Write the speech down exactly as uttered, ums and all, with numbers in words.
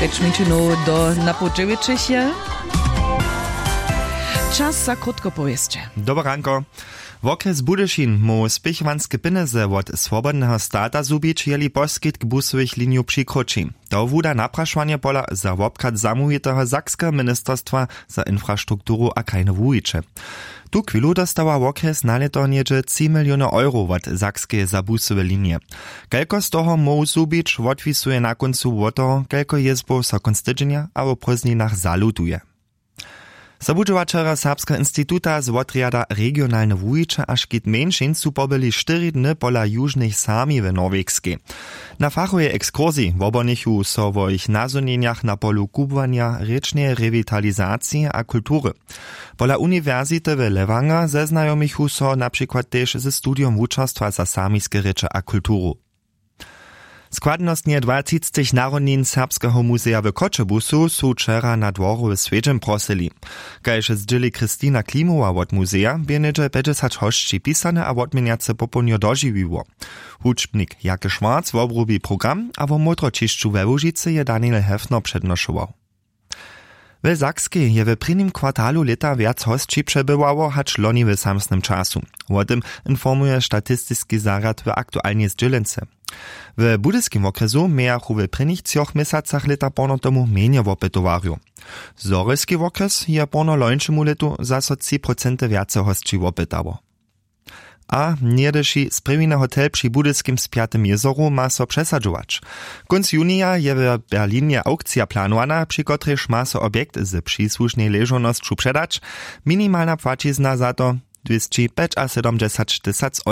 Pjeć minutinow do napoł dźewjećich je. Čas za krótko powěsće. Dobre ranko. Wokrjes Budyšin móhł spěchowanske pjenjezy wot swobodneho stata zhubić, jeli poskitk busowych linijow přikróći. To wuda naprašowanje pola za wobchad zamołwiteho sakskeho ministerstwa za infrastrukturu a krajne wuwiće. Tu chwilu dostawa wokrjes na lěto něhdźe tři miliony euro wot sakskeje za busowe linije. Kelko z toho móhł zhubić, wotwisuje na kóncu wot toho, kelko jězbow so kónc tydźenja abo w prózdninach zalutuje. Sobudźowaćerjo serbskeho instituta z wotrjada regionalne wuwiće a škit mjeńšin su pobyli štyri dny pola južnych sami w norwegskej. Na fachowej ekskursiji wobhonichu so wo jich nazhonjenjach na polu kubłanja, rěčneje rewitalizacije a kultury. Pola uniwersity w lewanger zeznajomichu so na přikład tež ze studijom wučerstwa za samiske rěče a kulturu. Składnostnje dwatřictych narodnin serbskeho muzeja w choćebuzu su wčera na dworowy swjedźeń prosyli. Kaž zdźěli christina klimowa wot muzeja, bě něhdźe pjećdźesać hosći pisane a wotměnjace popołdnjo dožiwiło. Hudźbnik jake schwarz wobrubi program a wo mótroćišću we łužicy je daniel hefner přednošował. W sakskej je w prěnim kwartalu lěta wjac hosći přebywało hač loni w samsnym času. Wo tym informuje statistiski zarjad w aktualnej zdźělence. W budyskim wokrjesu mějachu w prěnich třoch měsacach lěta porno tomu mjenje wopytowarjow. Zhorjelski wokrjes je porno lońšemu lětu zaso tři procenty wjace hosći wopytało. A něhdyši sprěwiny hotel při budyskim spjatym jězoru ma so přesadźować. Kónc junija je w berlinje aukcija planowana, při kotrejž ma so objekt z přisłušnej ležownosću předać. Minimalna płaćizna za to dwěsći pjećasydomdźesać tysac euro.